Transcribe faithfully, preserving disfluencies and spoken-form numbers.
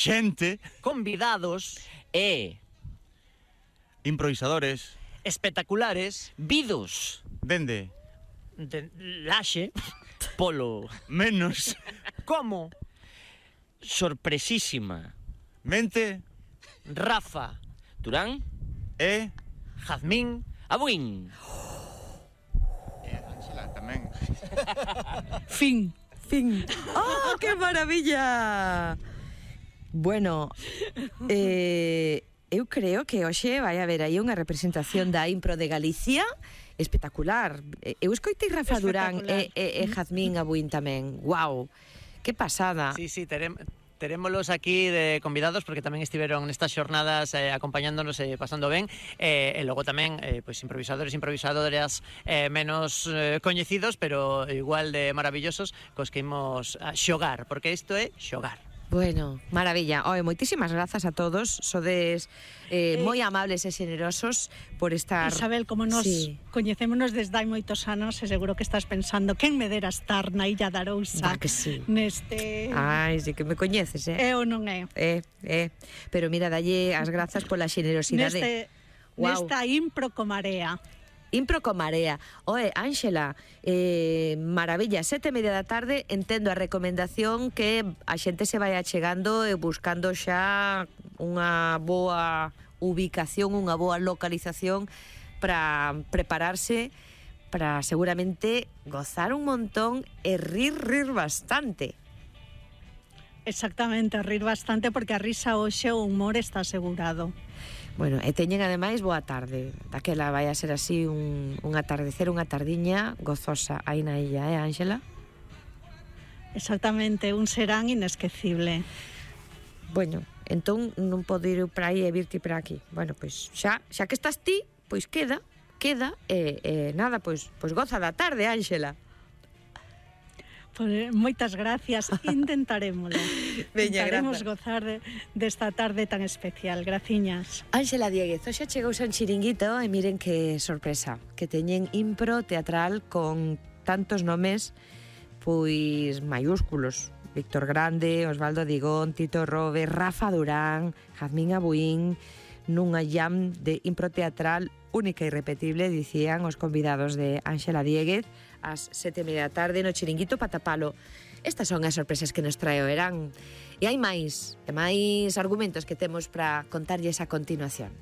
xente, convidados E improvisadores, espectaculares vidos dende de Laxe polo menos como sorpresísima mente Rafa Durán e Jazmín Abuín. e Ángela tamén. Fin. Fin. ¡Oh, qué maravilla! Bueno, eh, eu creo que hoxe vai haber aí unha representación da Impro de Galicia espectacular. Eu escoitei Rafa Durán e, e, e Jazmín Abuín tamén. Guau, que pasada. Sí, sí, teremos Terémolos aquí de convidados porque tamén estiveron nestas xornadas eh, acompañándonos e eh, pasando ben eh, e logo tamén eh, pues, improvisadores e improvisadoras eh, menos eh, coñecidos pero igual de maravillosos cos que imos a xogar porque isto é xogar. Bueno, maravilla. Oe, moitísimas grazas a todos. Sodes eh, Eh, moi amables e xenerosos por estar... Isabel, como nos Sí. coñecémonos desde hai moitos anos, e seguro que estás pensando quen me dera estar na Illa da Arousa Va que sí. neste... Ai, sí que me coñeces, eh? É ou non é? Eh, eh. Pero mira, dalle as grazas pola xenerosidade. Neste, Guau. nesta impro co marea. Impro con marea. Oe, Ángela, eh, maravilla, sete e media da tarde, entendo a recomendación que a xente se vai achegando e buscando xa unha boa ubicación, unha boa localización para prepararse para seguramente gozar un montón e rir, rir bastante. Exactamente, a rir bastante porque a risa hoxe o humor está asegurado. Bueno, e teñen ademais boa tarde. Daquela vai a ser así un, un atardecer, unha tardiña gozosa aí na illa, eh, Ángela? Exactamente, un serán inesquecible. Bueno, entón non podo ir para aí e virte para aquí. Bueno, pois xa, xa que estás ti, pois queda, queda, e, e nada, pois, pois goza da tarde, Ángela. Pues, moitas gracias, intentarémoslo. Veña, Intentaremos grazas. gozar de, desta tarde tan especial. Graciñas. Ángela Dieguez, hoxe chegou un chiringuito e miren que sorpresa, que teñen impro teatral con tantos nomes pois maiúsculos. Víctor Grande, Osvaldo Digón, Tito Robe, Rafa Durán, Jazmín Abuín, nunha jam de impro teatral única e irrepetible, dicían os convidados de Ángela Dieguez, ás sete e media da tarde no chiringuito Patapalo. Estas son as sorpresas que nos trae o verán. E hai máis, e máis argumentos que temos para contarlles a continuación.